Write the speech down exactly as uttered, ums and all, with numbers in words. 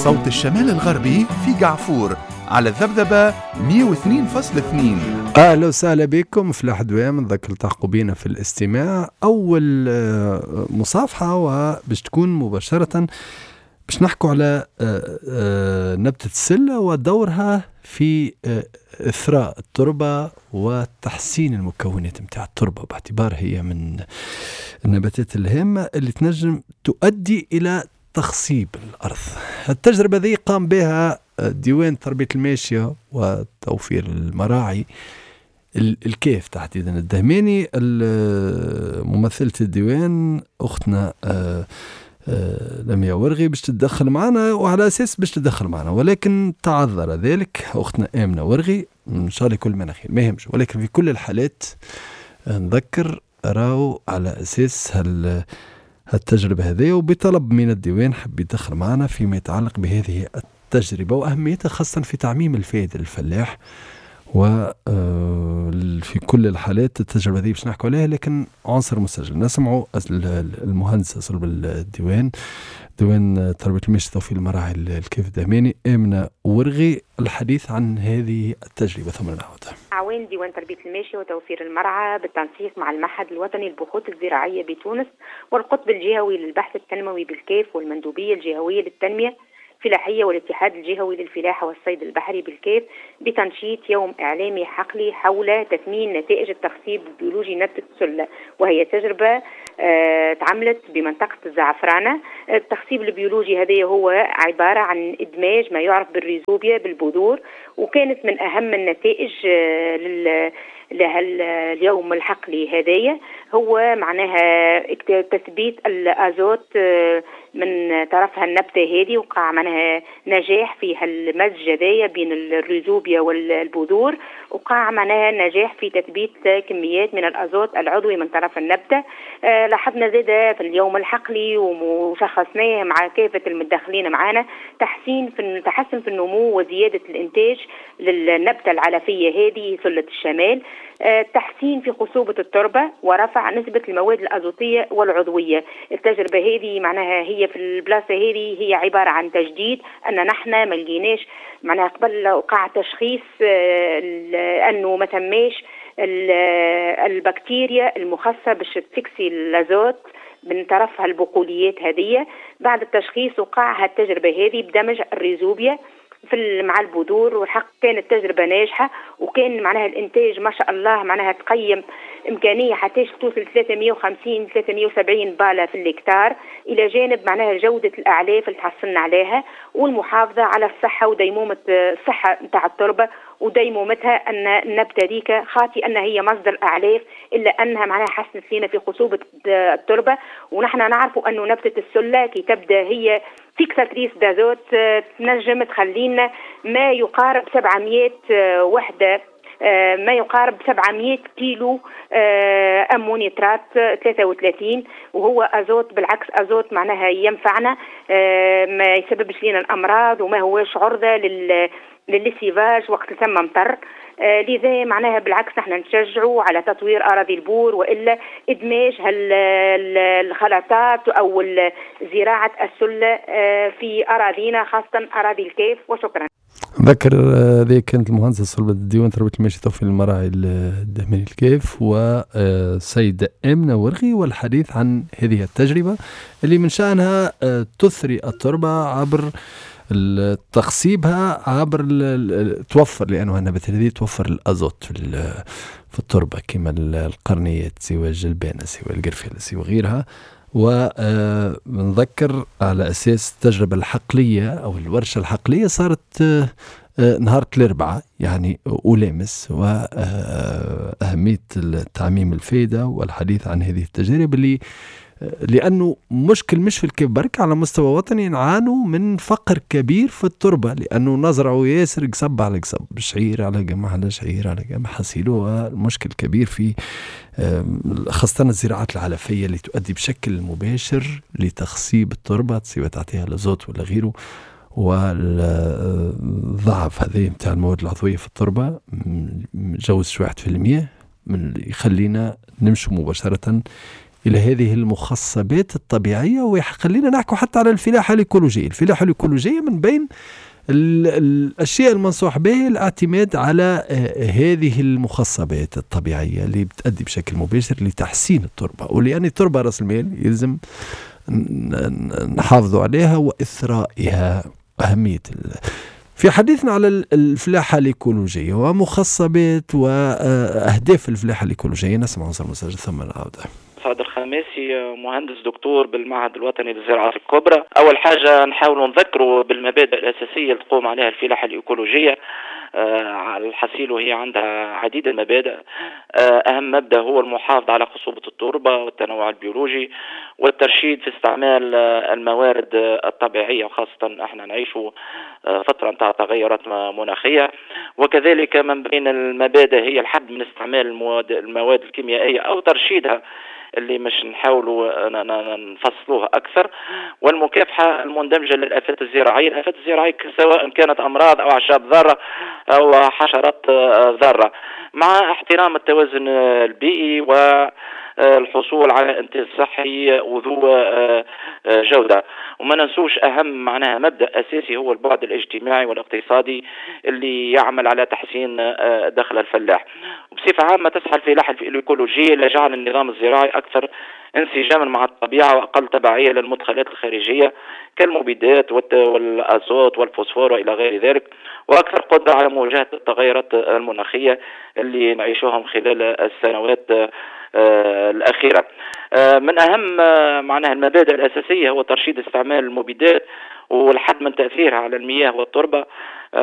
صوت الشمال الغربي في قعفور على الذبذبة مئة واثنين فاصلة اثنين. أهلا وسهلا بكم في الأحدوام، نذكر التحقوا بينا في الاستماع. أول مصافحة وباش تكون مباشرة باش نحكوا على نبتة السلة ودورها في إثراء التربة وتحسين المكونات متاع التربة، باعتبار هي من النباتات الهامة اللي تنجم تؤدي إلى تخصيب الأرض. التجربة ذي قام بها ديوان تربية الماشية وتوفير المراعي الكيف تحديدا الدهماني، ممثلة الديوان أختنا لميا ورغي باش تتدخل معنا، وعلى أساس باش تتدخل معنا ولكن تعذر ذلك أختنا آمنة ورغي، إن شاء الله كل ما خير ما يهمش، ولكن في كل الحالات نذكر راو على أساس هال التجربة هذه، وبطلب من الديوان حب يدخل معنا فيما يتعلق بهذه التجربة وأهميتها خاصة في تعميم الفائدة للفلاح. وفي كل الحالات التجربة هذه باش نحكوا عليها، لكن عنصر مسجل نسمعوا المهندسة صلب الديوان ديوان تربية الماشية توفير المراعي الكيف الدهماني آمنة ورغي الحديث عن هذه التجربة ثم نعود. عوان ديوان تربية الماشية وتوفير المرعى بالتنسيق مع المعهد الوطني للبحوث الزراعية بتونس والقطب الجهوي للبحث التنموي بالكيف والمندوبية الجهوية للتنمية الفلاحية والاتحاد الجهوي للفلاحة والصيد البحري بالكيف بتنشيط يوم إعلامي حقلي حول تثمين نتائج التخصيب البيولوجي نبتة السلة، وهي تجربة آه تعملت بمنطقة الزعفرانة. التخصيب البيولوجي هذا هو عبارة عن إدماج ما يعرف بالريزوبيا بالبذور، وكانت من أهم النتائج آه لل لها اليوم الحقلي هذايا هو معناها تثبيت الازوت من طرفها النبتة هذه، وقع معناها نجاح في هالمزج هذايا بين الريزوبيا والبذور، وقع معناها نجاح في تثبيت كميات من الازوت العضوي من طرف النبتة. لاحظنا زاده في اليوم الحقلي وشخصناه مع كافة المتدخلين معانا تحسين في تحسن في النمو وزيادة الانتاج للنبته العلفيه هذه سله الشمال، تحسين في خصوبة التربة ورفع نسبة المواد الأزوتية والعضوية. التجربة هذه معناها هي في البلاصة هذه هي عبارة عن تجديد، أن نحن ما لقيناش معناها قبل وقع تشخيص أنه ما تماش البكتيريا المخصصة باش تفكسي الأزوت من طرفها البقوليات هذه. بعد التشخيص وقع التجربة هذه بدمج الريزوبيا في مع البذور، والحق كانت تجربة ناجحة، وكان معناها الإنتاج ما شاء الله معناها تقيم إمكانية حتى توصل ثلاثمئة وخمسين ثلاثمئة وسبعين بالة في الهكتار، إلى جانب معناها جودة الأعلاف اللي تحصلنا عليها والمحافظة على الصحة وديمومة الصحة نتاع التربة وديمومتها، أن النبتة ديك خاطي أن هي مصدر أعلاف إلا أنها معناها حسنت لنا في خصوبة التربة. ونحن نعرف أنه نبتة السلة كي تبدأ هي fixatrice d'azote تنجم تخلينا ما يقارب سبعمئة وحدة، ما يقارب سبعمئة كيلو أمونيترات ثلاثة وثلاثين، وهو أزوت بالعكس أزوت معناها ينفعنا، ما يسببش لنا الأمراض وما هوش عرضة لل لل lessivage وقت ثم مطر. لذا معناها بالعكس نحن نشجعوا على تطوير أراضي البور وإلا إدماج الخلطات أو زراعة السلة في أراضينا خاصة أراضي الكيف. وشكرا. نذكر هذه كانت المهندسة صلبة الديوان تربية الماشية توفير المراعي الدهماني الكيف والسيدة آمنة ورغي، والحديث عن هذه التجربة اللي من شأنها تثري التربة عبر تخصيبها عبر توفر، لأنه النباتات هذه توفر الأزوت في في التربة كما القرنيات سوى الجلبانة سوى القرفة سوى غيرها. ونذكر على أساس التجربة الحقلية أو الورشة الحقلية صارت نهار الأربعاء يعني أولامس، وأهمية تعميم الفائدة والحديث عن هذه التجارب اللي لأنه مشكل مش في الكيف برك، على مستوى وطني نعانوا من فقر كبير في التربة، لأنه نزرعوا ياسر قصب على قصب، شعير على قمح على شعير على قمح حصيله. المشكل كبير في خاصة الزراعات العلفية اللي تؤدي بشكل مباشر لتخصيب التربة سواء تعطيها لازوت ولا غيره، والضعف هذه متاع المواد العضوية في التربة جوز واحد في المية من يخلينا نمشي مباشرة إلى هذه المخصبات الطبيعية، وخلينا نحكي حتى على الفلاحة الإيكولوجية. الفلاحة الإيكولوجية من بين الأشياء المنصوح به الاعتماد على آه، هذه المخصبات الطبيعية اللي بتأدي بشكل مباشر لتحسين التربة، ولأن التربة رأس المال يلزم نحافظوا عليها وإثرائها. أهمية في حديثنا على الفلاحة الإيكولوجية ومخصبات وأهداف الفلاحة الإيكولوجية، نسمع عنصر مسجل ثم نعود. سعد الخماسي، مهندس دكتور بالمعهد الوطني للزراعة الكبرى. أول حاجة نحاول نذكره بالمبادئ الأساسية اللي تقوم عليها الفلاحة الإيكولوجية. آه، الحصيل وهي عندها عديد المبادئ. آه، أهم مبدأ هو المحافظة على خصوبة التربة والتنوع البيولوجي والترشيد في استعمال آه، الموارد الطبيعية، وخاصة احنا نعيش فترة متاع تغيرات مناخية. وكذلك من بين المبادئ هي الحد من استعمال المواد, المواد الكيميائية أو ترشيدها اللي مش نحاولوا نفصلوها أكثر، والمكافحة المندمجة للآفات الزراعية. الآفات الزراعية سواء كانت أمراض أو أعشاب ضارة أو حشرات ضارة، مع احترام التوازن البيئي و الحصول على انتاج صحي وذو آه، آه، جودة. وما ننسوش أهم معناها مبدأ أساسي هو البعد الاجتماعي والاقتصادي اللي يعمل على تحسين آه، دخل الفلاح. وبصفة عامة تسعى الفلاحة الإيكولوجية لجعل النظام الزراعي أكثر انسجاما مع الطبيعة وأقل تبعية للمدخلات الخارجية كالمبيدات والأزوت والفوسفور وإلى غير ذلك، وأكثر قدرة على مواجهة التغيرات المناخية اللي نعيشوهم خلال السنوات آه، الأخيرة. آه، من أهم آه، معناها المبادئ الأساسية هو ترشيد استعمال المبيدات والحد من تأثيرها على المياه والتربة.